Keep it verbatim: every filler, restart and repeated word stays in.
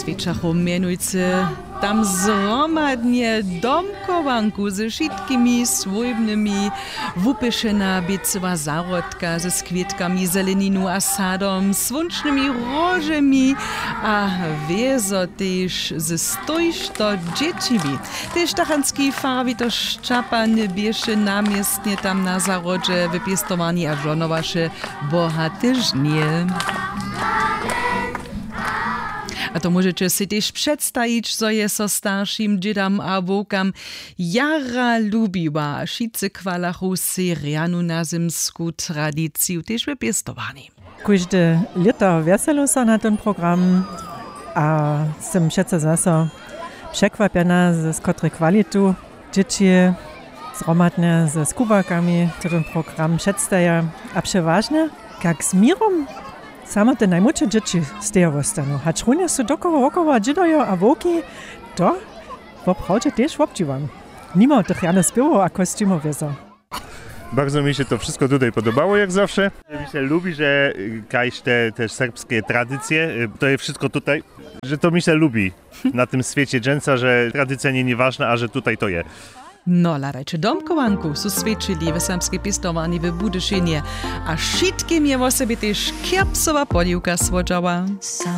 Wječachu mjenujcy tam zhromadnje domchowanku ze wšitkimi swójbnymi, wupěšena běcyła zahrodka ze skwětkami, zeleninu a sadom, słónčnymi róžemi a wězo tež ze stójšto dźěćimi. Tež tachanski farar Witoš Čapany běše na městnje tam na zahrodźe w pěstowarni a žohnowaše bohate žnje. A to móžeće sej tež předstajić, zo je so staršim dźědam a wowkam jara lubiła. Wšitcy chwalachu sej rjanu nazymsku tradiciju tež w pěstowarni. Kóžde lěto wjeselu so na ten program a sym přeco zaso překwapjena, z kotrej kwalitu dźěći zhromadnje ze skubakami to ten program předstaja. A přewažnje, kak z měrom samo te najmłódše dźěći stejo wostanu, hač runje su dokoła wokoła dźědojo a wowki. To woprawdźe tež wobdźiwam, nimo tych rjane spěwow a kosćimow wězo. Bardzo mi się to wszystko tutaj podobało, jak zawsze. Mi się lubi, że, y, kaž te, te serbskie tradycje, y, to je wszystko tutaj, że to mi się lubi na tym świecie dżęca, że tradycja nie, nie ważna, a że tutaj to je. No, hladajće domchowanku su swjećili w serbskej pěstowarni w Budyšinje a wšitkim je wosebje tež Kjerpsowa poliwka słodźała.